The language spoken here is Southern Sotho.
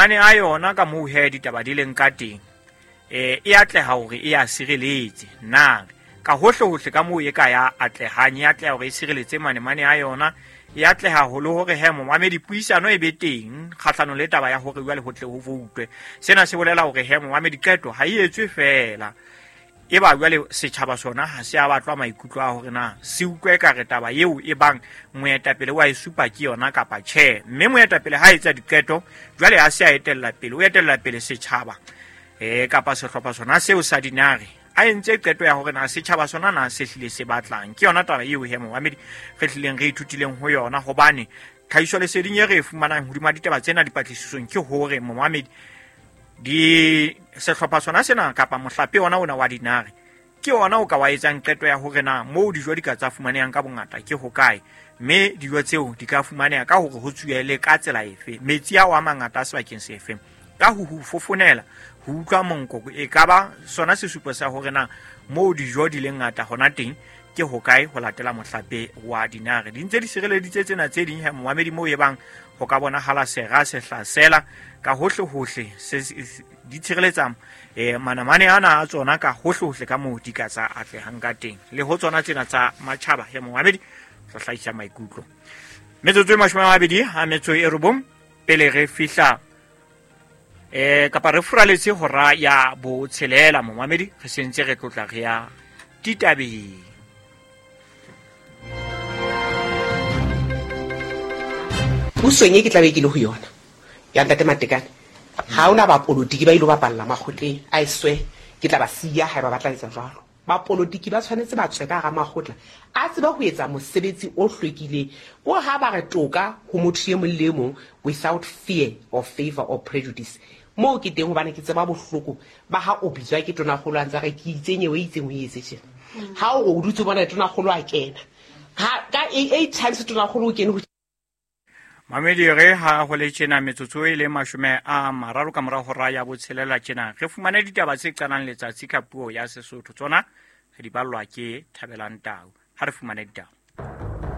Manemane a yona ka moo he ditaba di leng ka teng, e atleha hore e a sireletse. Na ka hohle-hohle ka moo e ka ya atlehang, e atleha hore e sireletse manemane a yona, e atleha ho le hore he momamedi puisano e be teng kgahlanong le taba ya hore jwale ho tle ho voutwe. Sena se bolela hore he momamedi qeto ha e etswe feela, e ba jwale setjhaba sona ha se a batlwa maikutlo a hore na se utlwe ka re taba eo e bang moetapele wa e supa ke yona kapa tjhe. Mme moetapele ha etsa diqeto jwale ha se a etella pele, o etella pele setjhaba kapa sehlopha sona seo sa dinare, a entse qeto ya hore na setjhaba sona na se hlile se batlang. Ke yona taba eo he momamedi re hlileng re ithutileng ho yona, hobane tlhahiso leseding e re e fumanang hodima ditaba tsena dipatlisisong ke hore momamedi di sehlopha sona sena kapa mohlape ona ona wa dinare ke ona o ka wa etsang qeto ya hore na moo dijo di ka tsa fumanehang ka bongata ke hokae, mme dijo tseo di ka fumaneha ka hore ho tsuele ka tsela efe, metsi ao a mangata a sebakeng sefe, ka ho ho fofonela, ho utlwa monko, e ka ba sona sesupo sa hore na moo dijo di leng ngata hona teng ke hokae ho latela mohlape wa dinare. Di ntse di sireleditse tsena tse ding he momamedi moo e bang ho ka bonahala sera se hlasela ka hohle-hohle, se di tshireletsa manamane ana a tsona ka hohle-hohle ka moo di ka tsa atlehang ka teng. Le ho tsona tsena tsa matjhaba he momamedi re hlahisa maikutlo. Metsotso e 29 pele re fihla kapa re furaletse hora ya botshelela momamedi, re sentse re tlotla re ya ditabeng. Pusong e ke tlabe ke le ho yona ya ntate Matekane, ha hona bapolotiki ba ilo bapalla makgotleng, I swear ke tla ba siya haeba ba tla etsa jwalo. Bapolotiki ba tshwanetse ba tswe ka hara makgotla a tsebe ho etsa mosebetsi o hlwekileng, ko ha ba re toka ho motho e mong le e mong without fear or favor or prejudice. Moo ke teng hobane ke tseba bohloko ba ha o bitswa ke tonakgolo a ntse a re ke itse nyewe e itseng o etse tjena. Ha o re o dutse o bona tonakgolo a kena, ha ka 8 times tonakgolo o kene ho Mamedi re ha ho le tjena metsotso e le 30 ka mora hora ya botshelela tjena re fumane ditaba tse qalang letsatsi ka puo ya Sesotho, tsona re di ballwa ke Thabelang Tau. Ha re fumane ditaba.